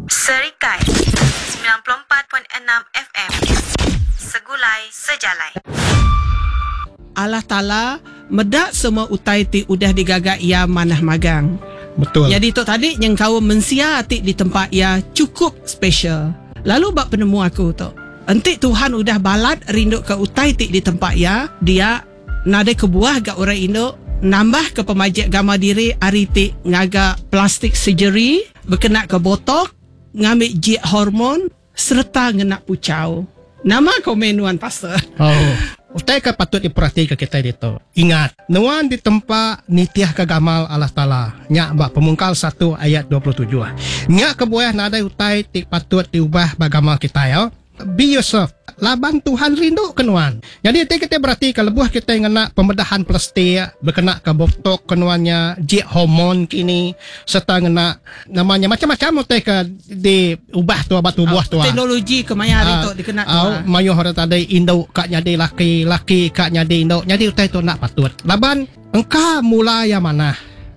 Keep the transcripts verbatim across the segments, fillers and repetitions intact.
Serikai semilan puluh empat point enam F M Segulai Sejalai. Allah Taala meda semua utai ti udah digaga iya manah magang. Betul. Jadi tu tadi nyengkaum mensia ti ditempa iya cukup special. Lalu ba penemu aku tu, enti Tuhan udah balat rindu ke utai ti ditempa iya, dia nadai kebuah ga orang indu nambah ke pemajik gama diri ari ti ngaga plastic surgery, bekena ke botok, ngambi jik hormon sereta ngena pucau. Nama komen nuan pastor? Oh, utai ke patut diperhati ke kita ditu. Ingat, nuan ditempa nitih ke gamal Allah Taala. Nya ba Pemungkal satu ayat dua puluh tujuh. Nya kebuah nadai utai ti patut diubah ba gamal kita ya. Be yourself. Laban Tuhan rindu ke nuan. Jadi nanti kita berarti kalau lebuh kita ngena pembedahan plastik, berkena ke botok ke nuannya, jik hormon kini, serta ngena namanya macam-macam utai ke diubah tu abad tubuh tu. Teknologi kemaya hari tu dikena tu. Uh, mayuh orang tadi induk kak nyadi laki, laki kak nyadi induk. Jadi utai tu nak patut. Laban engka mula yang mana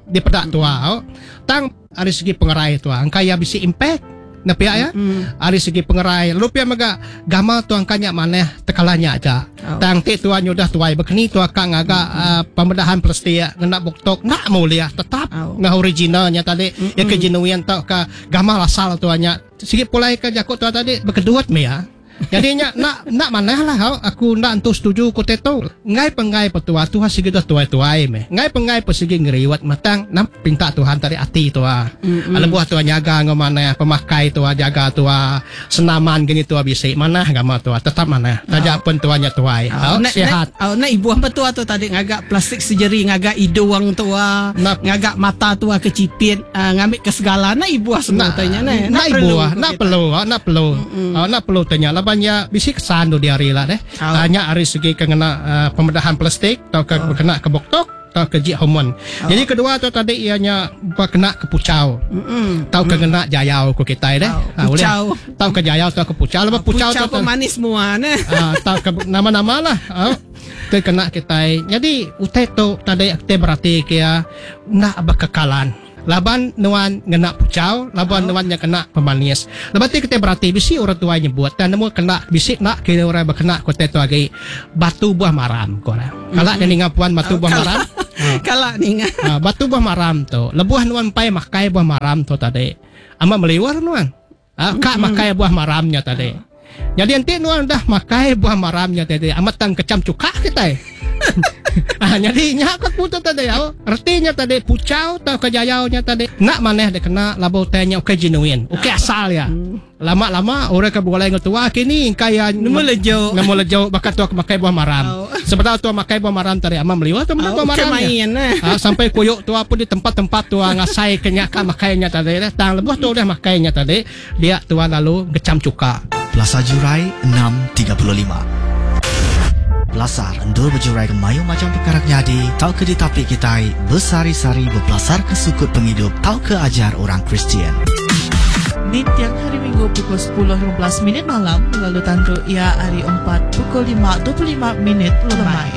dipedak tua. Tang dari segi pengerai tua, engka ya bisi impact. Nah pihak ya, mm. Ari segi pengerai, lalu pihak mega gamal tuan kanyak maneh tekalanya aja. Oh. Tang ti tuan nyudah tuai bekeni tua kang agak mm. uh, pembedahan plastik ngena boktok nak mulia tetap oh. Ngah originalnya tadi mm-mm. Ya ke genuine tau ke gamal asal tuannya. Sigi pulai ke jakut tua tadi berkeduat me ya. Jadinya nak nak maneh lah hau aku nak entu setuju ku tetu. Ngai pengai petua Tuhan sigi dah tuai-tuai me. Ngai pengai pesigi ngeriwat matang nam pinta Tuhan tadi ati tua. Mm-hmm. Lebuh tua nyaga ngau maneh pemakai tua jaga tua senaman gini tua bisi manah gama tua tetap manah. Taja pun tuanya tuai. Hau oh, sihat. Oh nak ibu hamba tua tu tadi ngagak plastik surgery ngagak hidung tua, ngagak mata tua kecipit, uh, ngambil ke segala nak ibu semua tanya ne. Nak ibu nak perlu, nak perlu. Nak perlu tanya banyak bisi kesan tu di hari lah deh. Oh. Hanya hari segi kena uh, pembedahan plastik atau ke oh. kena ke boktok atau ke jik hormon. Oh. Jadi kedua tu tadi ianya kena ke pucau. Mm-mm. Atau ke kena jayau ku kita deh. Oh. Ha, pucau. Atau ke jayau atau ke pucau. Lepas oh, pucau, pucau tu pemanis semua neh. Atau ke nama-nama lah. Oh. Tu kena kita. Jadi utai tu tadi kita berarti kia nak berkekalan. Laban nuan ngena pucau, laban oh. nuan nya kena pemanis. Lepas tu kita berarti bisi orang tua nyebut dan nemu kena bisi nak kira orang berkena kota tu lagi batu buah maram ko lah. Kalak mm-hmm. ninga puan batu oh, buah maram. Kalak ninga. Ha, batu buah maram tu. Lebuh nuan pai makai buah maram tu tadi. Amat meliwar nuan. Ha, kak mm-hmm. makai buah maramnya tadi. Oh. Jadi nanti nuan dah makai buah maramnya tadi. Amat tang kecam cukak kita. Ah, jadi nyak aku putu tadi oh. Artinya tadi pucau atau kejayaunya tadi nak maneh dia kena labu tanya okey genuine. Okey asal ya. Lama-lama orang ke boleh ngetua kini kaya nemu lejo. Nemu lejo bakat tua makai buah maram. Oh. Sebentar tua makai buah maram tadi amam liwa tu oh, buah maram. Ya. Ah, sampai kuyuk tua pun di tempat-tempat tua ngasai kenyak makainya tadi. Tang lebuh tu dah makainya tadi dia tua lalu gecam cuka. Plaza Jurai enam tiga puluh lima. Pelasar endur berjurai ke mayu macam perkara nyadi tau ke ditapi kitai besari-sari berpelasar ke sukut penghidup tau ke ajar orang Kristian. Ni tiang hari Minggu pukul sepuluh lima belas minit malam lalu tandu ia hari empat pukul lima dua puluh lima minit lemai.